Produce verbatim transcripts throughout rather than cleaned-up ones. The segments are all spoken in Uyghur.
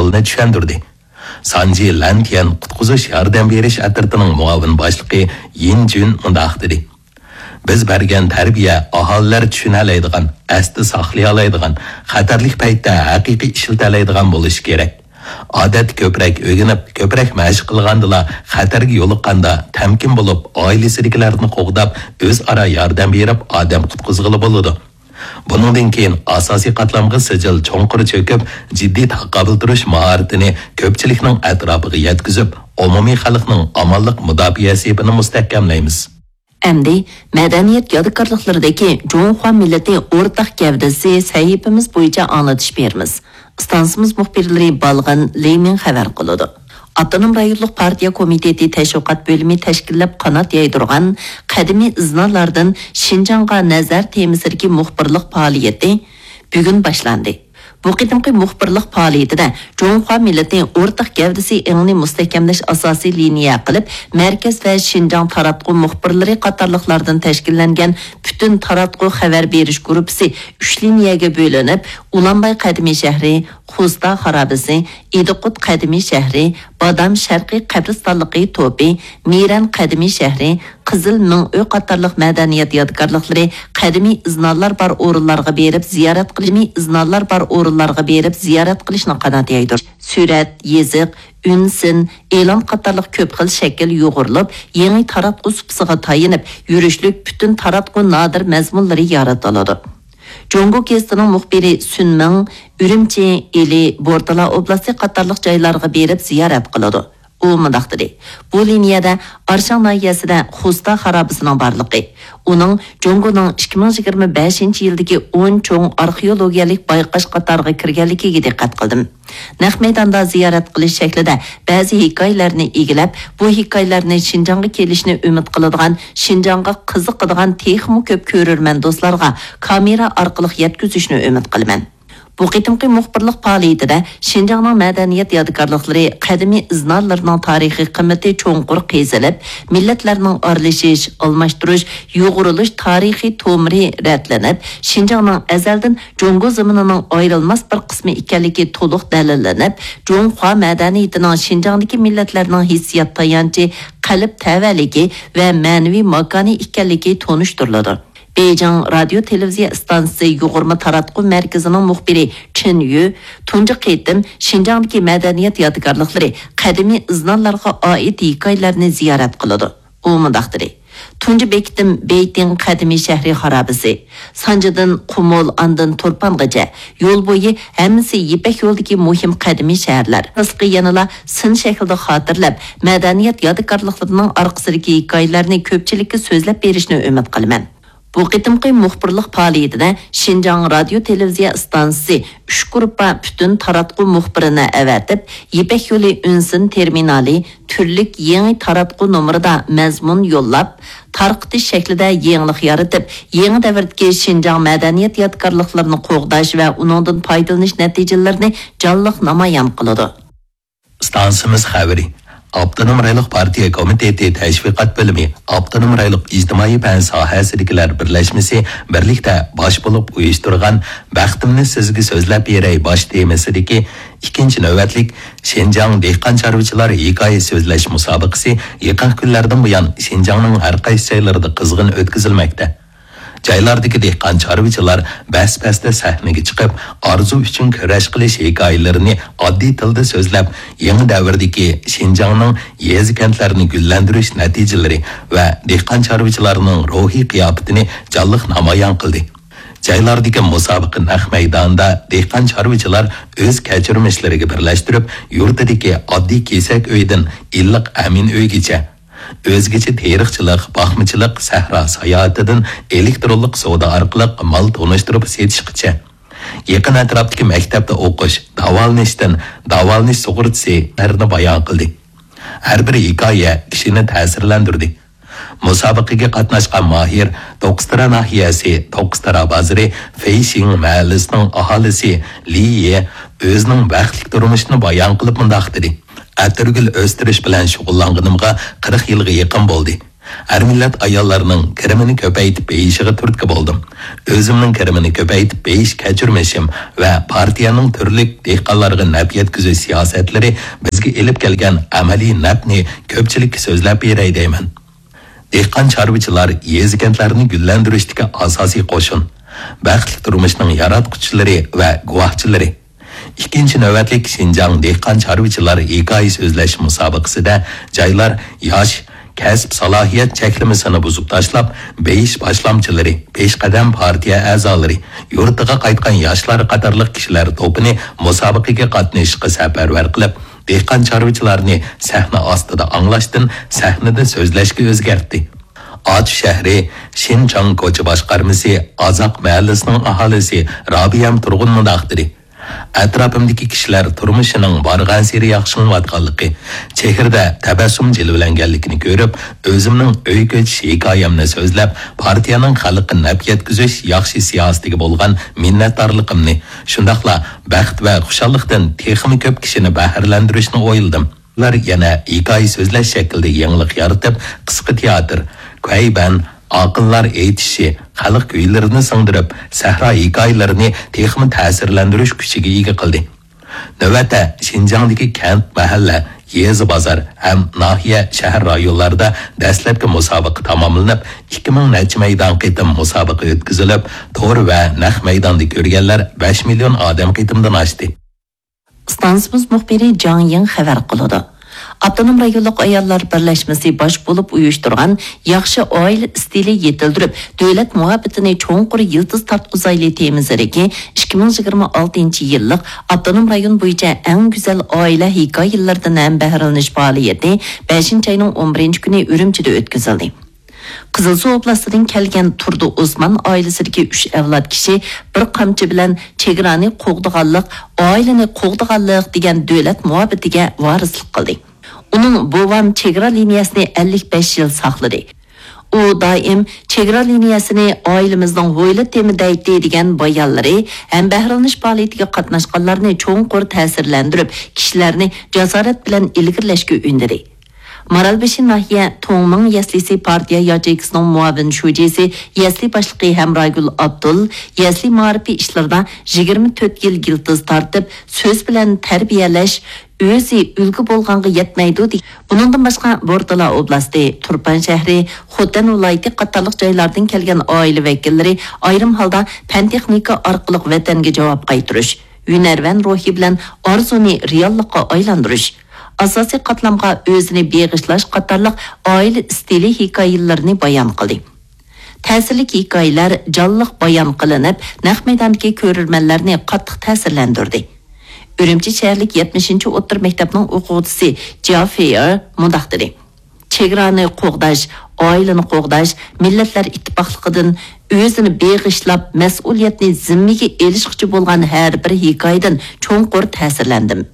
ئەھۋالىنى چۈشەندۈردى. سانجى لەنتيەن قۇتقۇزۇش ياردەم بېرىش ئەترىتىنىڭ مۇئاۋىن باشلىقى يىن جۈن مۇنداق دېدى: بىز بەرگەن تەربىيە ئاھالىلەر چۈشىنەلەيدىغان، ئەستە ساقلىيالايدىغان، خەتەرلىك پەيتتە ھەقىقىي ئىشلىتەلەيدىغان بولۇشى كېرەك. ئادەتتە كۆپرەك ئۆگىنىپ، كۆپرەك مەشىق قىلغاندىلا، خەتەرگە يولۇققاندا تەمكىن بولۇپ، ئائىلىسىدىكىلەرنى قوغداپ، ئۆزئارا ياردەم بېرىپ، ئادەم قۇتقۇزغىلى بولىدۇ. بۇنىڭدىن كېيىن ئاساسىي قاتلامغا سىجىل چوڭقۇر چۆكۈپ، جىددىي تاقابىل تۇرۇش ماھارىتىنى كۆپچىلىكنىڭ ئەتراپىغا يەتكۈزۈپ، ئومۇمىي خەلقنىڭ ئامانلىق مۇداپىئە سېپىنى مۇستەھكەملەيمىز. ئەمدى مەدەنىيەت يادىكارلىقلىرىدىكى جۇڭخۇا مىللىتى ئورتاق گەۋدىسى سەھىپىمىز بويىچە ئاڭلىتىش بېرىمىز. ئىستانسىمىز مۇخبىرلىرى بالغىن لېمىڭ خەۋەر قىلىدۇ. ئاپتونوم رايونلۇق پارتىيە كومىتېتى تەشۋىقات بۆلۈمى تەشكىللەپ قانات يايدۇرغان قەدىمىي ئىزنالاردىن شىنجاڭغا نەزەر تېمىسىدىكى مۇخبىرلىق پائالىيىتى بۈگۈن باشلاندى. بۇ قېتىمقى مۇخبىرلىق پائالىيىتىدە جۇڭخۇا مىللىتى ئورتاق گەۋدىسى ئېڭىنى مۇستەھكەملەش ئاساسىي لىنىيە قىلىپ، مەركەز ۋە شىنجاڭ تاراتقۇ مۇخبىرلىرى قاتارلىقلاردىن تەشكىللەنگەن پۈتۈن تاراتقۇ خەۋەر بېرىش گۇرۇپپىسى ئۈچ لىنىيەگە بۆلۈنۈپ، ئۇلانباي قەدىمىي شەھىرى، خوستا خارابىسى، ئىدىقۇت قەدىمىي شەھىرى، بادام شەرقىي قەبرىستانلىقى توپى، مىرەن قەدىمىي شەھىرى، قىزىل مىڭ ئۆي قاتارلىق مەدەنىيەت يادىكارلىقلىرى، قەدىمىي ئىزنالار بار ئورۇنلارغا بېرىپ زىيارەت قىلىش، ئىزنالار بار ئورۇنلارغا بېرىپ زىيارەت قىلىشنى قانات يايدۇرۇش. سۈرەت، يېزىق، ئۈن سىن، ئېلان قاتارلىق كۆپ خىل شەكىل يۇغۇرۇلۇپ، يېڭى تاراتقۇ سۇپىسىغا تايىنىپ يۈرۈشلۈك پۈتۈن تاراتقۇ نادىر مەزمۇنلىرى يارىتىلىدۇ. جۇڭگو گېزىتىنىڭ مۇخبىرى سۈن مىڭ ئۈرۈمچى، ئىلى، بورتالا ئوبلاستى قاتارلىق جايلارغا بېرىپ زىيارەت قىلىدۇ. ئۇ مۇنداق دېدى: بۇ لىنىيەدە ئارشاڭ ناھىيەسىدە خوستا خارابىسىنىڭ بارلىقى، ئۇنىڭ جۇڭگونىڭ ئىككى مىڭ يىگىرمە بەشىنچى يىلدىكى ئون چوڭ ئارخېئولوگىيەلىك بايقاش قاتارىغا كىرگەنلىكىگە دىققەت قىلدىم. نەق مەيداندا زىيارەت قىلىش شەكلىدە بەزى ھېكايىلەرنى ئىگىلەپ، بۇ ھېكايىلەرنى شىنجاڭغا كېلىشنى ئۈمىد قىلىدىغان، شىنجاڭغا قىزىقىدىغان تېخىمۇ كۆپ كۆرۈرمەن دوستلارغا كامېرا ئارقىلىق يەتكۈزۈشنى ئۈمىد قىلىمەن. بۇ قېتىمقى مۇخبىرلىق پائالىيىتىدە شىنجاڭنىڭ مەدەنىيەت يادىكارلىقلىرى، قەدىمىي ئىزنالىرىنىڭ تارىخىي قىممىتى چوڭقۇر قېزىلىپ، مىللەتلەرنىڭ ئارىلىشىش، ئالماشتۇرۇش، يۇغۇرۇلۇش تارىخىي تومۇرى رەتلىنىپ، شىنجاڭنىڭ ئەزەلدىن جۇڭگو زېمىنىنىڭ ئايرىلماس بىر قىسمى ئىكەنلىكى تولۇق دەلىللىنىپ، جۇڭخۇا مەدەنىيىتىنىڭ شىنجاڭدىكى مىللەتلەرنىڭ ھېسسىيات تايانچى، قەلب تەۋەلىكى ۋە مەنىۋى ماكانى ئىكەنلىكى تونۇشتۇرۇلىدۇ. بېيجىڭ رادىيو تېلېۋىزىيە ئىستانسىسى يۇغۇرما تاراتقۇ مەركىزىنىڭ مۇخبىرى چېن يۈ تۇنجى قېتىم شىنجاڭدىكى مەدەنىيەت يادىكارلىقلىرى، قەدىمىي ئىزنالارغا ئائىت ھېكايىلەرنى زىيارەت قىلىدۇ. ئۇ مۇنداق دېدى: تۇنجى بېكىتىم بېيتىڭ قەدىمىي شەھىرى خارابىسى. سانجىدىن قۇمۇل، ئاندىن تۇرپانغىچە يول بويى ھەممىسى يىپەك يولىدىكى مۇھىم قەدىمىي شەھەرلەر. خاسلىقى يەنىلا سىن شەكلىدە خاتىرىلەپ، مەدەنىيەت يادىكارلىقلىرىنىڭ ئارقىسىدىكى ھېكايىلەرنى كۆپچىلىككە سۆزلەپ بېرىشنى ئۈمىد قىلىمەن. بۇ قېتىمقى مۇخبىرلىق پائالىيىتىدە شىنجاڭ رادىيو تېلېۋىزىيە ئىستانسىسى ئۈچ گۇرۇپپا پۈتۈن تاراتقۇ مۇخبىرىنى ئەۋەتىپ، يىپەك يولى ئۈن سىن تېرمىنالى تۈرلۈك يېڭى تاراتقۇ نومۇرىدا مەزمۇن يوللاپ، تارقىتىش شەكلىدە يېڭىلىق يارىتىپ، يېڭى دەۋردىكى شىنجاڭ مەدەنىيەت يادىكارلىقلىرىنى قوغداش ۋە ئۇنىڭدىن پايدىلىنىش نەتىجىلىرىنى جانلىق نامايان قىلىدۇ. ئىستانسىمىز خەۋىرى. ئاپتونوم رايونلۇق پارتىيە كومىتېتى تەشۋىقات بۆلۈمى، ئاپتونوم رايونلۇق ئىجتىمائىي پەن ساھەسىدىكىلەر بىرلەشمىسى بىرلىكتە باش بولۇپ ئۇيۇشتۇرغان بەختىمنى سىزگە سۆزلەپ بېرەي باش تېمىسىدىكى ئىككىنچى نۆۋەتلىك شىنجاڭ دېھقان چارۋىچىلار ھېكايە سۆزلەش مۇسابىقىسى يېقىنقى كۈنلەردىن بۇيان شىنجاڭنىڭ ھەر قايسى جايلىرىدا قىزغىن ئۆتكۈزۈلمەكتە. جايلاردىكى دېھقان چارۋىچىلار بەس-بەستە سەھنىگە چىقىپ، ئارزۇ ئۈچۈن كۈرەش قىلىش ھېكايىلىرىنى ئاددىي تىلدا سۆزلەپ، يېڭى دەۋردىكى شىنجاڭنىڭ يېزا-كەنتلەرنى گۈللەندۈرۈش نەتىجىلىرى ۋە دېھقان چارۋىچىلارنىڭ روھىي قىياپىتىنى جانلىق نامايان قىلدى. جايلاردىكى مۇسابىقە نەق مەيدانىدا دېھقان چارۋىچىلار ئۆز كەچۈرمىشلىرىگە بىرلەشتۈرۈپ، يۇرتىدىكى ئاددىي كېسەك ئۆيدىن ئىللىق ئەمىن ئۆيگىچە، ئۆزگىچە تېرىقچىلىق، باقمىچىلىق، سەھرا ساياھىتىدىن ئېلېكترونلۇق سودا ئارقىلىق مال تونۇشتۇرۇپ سېتىشقىچە، يېقىن ئەتراپتىكى مەكتەپتە ئوقۇش، داۋالىنىشتىن داۋالىنىش سۇغۇرتىسى ھەرىنى بايان قىلدى. ھەر بىر ھېكايە كىشىنى تەسىرلەندۈردى. مۇسابىقىگە قاتناشقان ماھىر توققۇزتارا ناھىيەسى توققۇزتارا بازىرى فېيشىڭ مەھەللىسىنىڭ ئاھالىسى لى يې ئۆزىنىڭ بەختلىك تۇرمۇشىنى بايان قىلىپ مۇنداق دېدى: ئەتىرگۈل ئۆستۈرۈش بىلەن شۇغۇللانغىنىمغا قىرىق يىلغا يېقىن بولدى. ھەر مىللەت ئاياللارنىڭ كىرىمىنى كۆپەيتىپ بېيىشىغا تۈرتكە بولدۇم. ئۆزۈمنىڭ كىرىمىنى كۆپەيتىپ بېيىش كەچۈرمىشىم ۋە پارتىيەنىڭ تۈرلۈك دېھقانلارغا نەپ يەتكۈزۈش سىياسەتلىرى بىزگە ئېلىپ كەلگەن ئەمەلىي نەپنى كۆپچىلىككە سۆزلەپ بېرەي دەيمەن. دېھقان-چارۋىچىلار يېزا-كەنتلەرنى گۈللەندۈرۈشتىكى ئاساسىي قوشۇن. بەختلىك تۇرمۇشنىڭ ياراتقۇچىلىرى ۋە گۇۋاھچىلىرى. ئىككىنچى نۆۋەتلىك شىنجاڭ دېھقان-چارۋىچىلار ھېكايە سۆزلەش مۇسابىقىسىدە جايلار ياش، كەسىپ سالاھىيەت چەكلىمىسىنى بۇزۇپ تاشلاپ، بېيىش باشلامچىلىرى، پېشقەدەم پارتىيە ئەزالىرى، يۇرتىغا قايتقان ياشلار قاتارلىق كىشىلەر توپىنى مۇسابىقىگە قاتنىشىشقا سەپەرۋەر قىلىپ، دېھقان-چارۋىچىلارنى سەھنە ئاستىدا ئاڭلاشتىن سەھنىدە سۆزلەشكە ئۆزگەرتتى. ئاچ شەھىرى شىنچاڭ كوچا باشقارمىسى ئازاق مەھەللىسىنىڭ ئاھالىسى رابىيەم تۇرغۇن مۇنداق دېدى: ئەتراپىمدىكى كىشىلەر تۇرمۇشىنىڭ بارغانسېرى ياخشىلىنىۋاتقانلىقى، چېھرىدە تەبەسسۇم جىلۋىلەنگەنلىكىنى كۆرۈپ، ئۆزۈمنىڭ ئۆي كۆچۈش ھېكايەمنى سۆزلەپ، پارتىيەنىڭ خەلققە نەپ يەتكۈزۈش ياخشى سىياسىتىگە بولغان مىننەتدارلىقىمنى، شۇنداقلا بەخت ۋە خۇشاللىقتىن تېخىمۇ كۆپ كىشىنى بەھرىلەندۈرۈشنى ئويلىدىم. ئۇلار يەنە ھېكايە سۆزلەش شەكلىدە يېڭىلىق يارىتىپ، قىسقا تىياتىر، كۇەيبەن، ئاقىنلار ئېيتىشى، خەلق كۈيلىرىنى سىڭدۈرۈپ، سەھرا ھېكايىلىرىنى تېخىمۇ تەسىرلەندۈرۈش كۈچىگە ئىگە قىلدى. نۆۋەتتە، شىنجاڭدىكى كەنت، مەھەللە، يېزا، بازار ھەم ناھىيە، شەھەر رايونلاردا دەسلەپكى مۇسابىقە تاماملىنىپ، ئىككى مىڭ نەچچە مەيدان قېتىم مۇسابىقە ئۆتكۈزۈلۈپ، تور ۋە نەق مەيداندا كۆرگەنلەر بەش مىليون ئادەم قېتىمدىن ئاشتى. ئىستانسىمىز مۇخبىرى جاڭ يىڭ خەۋەر قىلىدۇ. ئاپتونوم رايونلۇق ئاياللار بىرلەشمىسى باش بولۇپ ئۇيۇشتۇرغان ياخشى ئائىلە ئىستىلى يېتىلدۈرۈپ، دۆلەت مۇھەببىتىنى چوڭقۇر يىلتىز تارتقۇزايلى تېمىسىدىكى ئىككى مىڭ يىگىرمە ئالتىنچى يىللىق ئاپتونوم رايون بويىچە ئەڭ گۈزەل ئائىلە ھېكايىلىرىدىن ھەمبەھرىلىنىش پائالىيىتى بەشىنچى ئاينىڭ ئون بىرىنچى كۈنى ئۈرۈمچىدە ئۆتكۈزۈلدى. قىزىلسۇ ئوبلاستىدىن كەلگەن تۇردى ئوسمان ئائىلىسىدىكى ئۈچ ئەۋلاد كىشى بىر قامچا بىلەن چېگرانى قوغدىغانلىق، ئائىلىنى قوغدىغانلىق دېگەن دۆلەت مۇھەببىتىگە ۋارىسلىق قىلدى. ئۇنىڭ بوۋام چېگرا لىنىيەسىنى ئەللىك بەش يىل ساقلىدى. ئۇ دائىم چېگرا لىنىيەسىنى ئائىلىمىزنىڭ ھويلا تېمى دەيتتى دېگەن بايانلىرى ھەمبەھرىلىنىش پائالىيىتىگە قاتناشقانلارنى چوڭقۇر تەسىرلەندۈرۈپ، كىشىلەرنى جاسارەت بىلەن ئىلگىرىلەشكە ئۈندىدى. مارالبېشى ناھىيە توڭمىڭ يەسلىسى پارتىيە ياچېيكىسىنىڭ مۇئاۋىن شۇجىسى، يەسلى باشلىقى ھەمراگۈل ئابدۇل يەسلى مائارىپى ئىشلىرىدا يىگىرمە تۆت يىل يىلتىز تارتىپ، سۆز بىلەن تەربىيەلەش، ئۆزى ئۈلگە بولغانغا يەتمەيدۇ، دېگەن. بۇنىڭدىن باشقا، بورتالا ئوبلاستى، تۇرپان شەھىرى، خوتەن ۋىلايىتى قاتارلىق جايلاردىن كەلگەن ئائىلە ۋەكىللىرى ئايرىم ھالدا پەن-تېخنىكا ئارقىلىق ۋەتەنگە جاۋاب قايتۇرۇش، ھۈنەرۋەن روھى بىلەن ئارزۇنى رېئاللىققا ئايلاندۇرۇش، ئاساسىي قاتلامغا ئۆزىنى بېغىشلاش قاتارلىق ئائىلە ئىستىلى ھېكايىلىرىنى بايان قىلدى. تەسىرلىك ھېكايىلەر جانلىق بايان قىلىنىپ، نەق مەيداندىكى كۆرۈرمەنلەرنى قاتتىق تەسىرلەندۈردى. ئۈرۈمچى شەھەرلىك يەتمىشىنچى ئوتتۇرا مەكتەپنىڭ ئوقۇغۇچىسى جيا فېيېر مۇنداق دېدى: چېگرانى قوغداش، ئائىلىنى قوغداش، مىللەتلەر ئىتتىپاقلىقىدىن ئۆزىنى بېغىشلاپ، مەسئۇلىيەتنى زىممىگە ئېلىشقۇچى بولغان ھەر بىر ھېكايىدىن چوڭقۇر تەسىرلەندىم.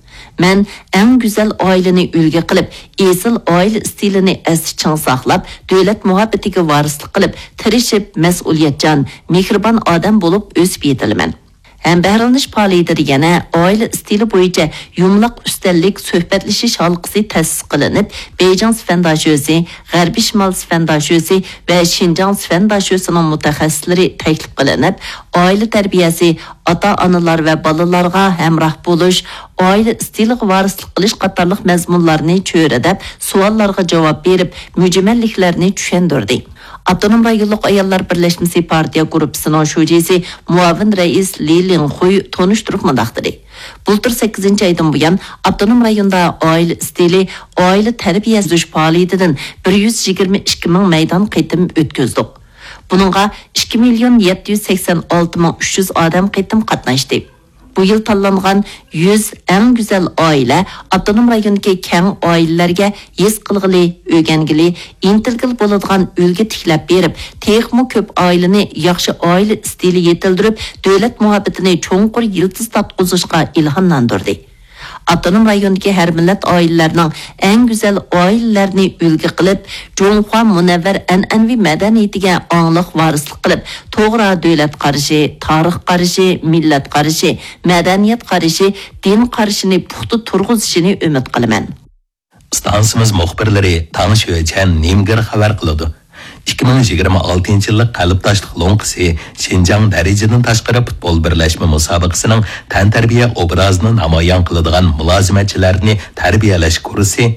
مەن ئەڭ گۈزەل ئائىلىنى ئۈلگە قىلىپ، ئېسىل ئائىلە ئىستىلىنى ئەستە چىڭ ساقلاپ، دۆلەت مۇھەببىتىگە ۋارىسلىق قىلىپ، تىرىشىپ، مەسئۇلىيەتچان، مېھرىبان ئادەم بولۇپ ئۆسۈپ يېتىلىمەن. ھەمبەھرىلىنىش پائالىيىتىدە يەنە ئائىلە ئىستىلى بويىچە يۇمىلاق ئۈستەللىك سۆھبەتلىشىش ھالقىسى تەسىس قىلىنىپ، بېيجىڭ سىفەن داشۆسى، غەربىي شىمال سىفەن داشۆسى ۋە شىنجاڭ سىفەن داشۆسىنىڭ مۇتەخەسسىسلىرى تەكلىپ قىلىنىپ، ئائىلە تەربىيەسى، ئاتا-ئانىلار ۋە بالىلارغا ھەمراھ بولۇش، ئائىلە ئىستىلىغا ۋارىسلىق قىلىش قاتارلىق مەزمۇنلارنى چۆرىدەپ، سوئاللارغا جاۋاب بېرىپ، مۈجمەللىكلەرنى چۈشەندۈردى. ئاپتونوم رايونلۇق ئاياللار بىرلەشمىسى پارتىيە گۇرۇپپىسىنىڭ شۇجىسى، مۇئاۋىن رەئىس لى لىڭخۇي تونۇشتۇرۇپ مۇنداق دېدى: بۇلتۇر سەككىزىنچى ئايدىن بۇيان، ئاپتونوم رايوندا ئائىلە ئىستىلى، ئائىلە تەربىيە ئۆتكۈزۈش پائالىيىتىدىن بىر يۈز يىگىرمە ئىككى مىڭ مەيدان قېتىم ئۆتكۈزدۇق. بۇنىڭغا ئىككى مىليون يەتتە يۈز سەكسەن ئالتە مىڭ ئۈچ يۈز ئادەم قېتىم قاتناشتى. بۇ يىل تاللانغان يۈز ئەڭ گۈزەل ئائىلە ئاپتونوم رايوندىكى كەڭ ئائىلىلەرگە ھېس قىلغىلى، ئۆگەنگىلى، ئىنتىلگىلى بولىدىغان ئۈلگە تىكلەپ بېرىپ، تېخىمۇ كۆپ ئائىلىنى ياخشى ئائىلە ئىستىلى يېتىلدۈرۈپ، دۆلەت مۇھەببىتىنى چوڭقۇر يىلتىز تارتقۇزۇشقا ئىلھاملاندۇردى. ئاپتونوم رايوندىكى ھەر مىللەت ئائىلىلەرنىڭ ئەڭ گۈزەل ئائىلىلەرنى ئۈلگە قىلىپ، جۇڭخۇا مۇنەۋۋەر ئەنئەنىۋى مەدەنىيىتىگە ئاڭلىق ۋارىسلىق قىلىپ، توغرا دۆلەت قارىشى، تارىخ قارىشى، مىللەت قارىشى، مەدەنىيەت قارىشى، دىن قارىشىنى پۇختا تۇرغۇزۇشىنى ئۈمىد قىلىمەن. ئىستانسىمىز مۇخبىرلىرى تاڭ شۆچەن نىمگېر خەۋەر قىلىدۇ. ئىككى مىڭ يىگىرمە ئالتىنچى يىللىق قەلبداشلىق لوڭقىسى شىنجاڭ دەرىجىدىن تاشقىرى پۇتبول بىرلەشمە مۇسابىقىسىنىڭ تەنتەربىيە ئوبرازىنى نامايان قىلىدىغان مۇلازىمەتچىلەرنى تەربىيەلەش كۇرسى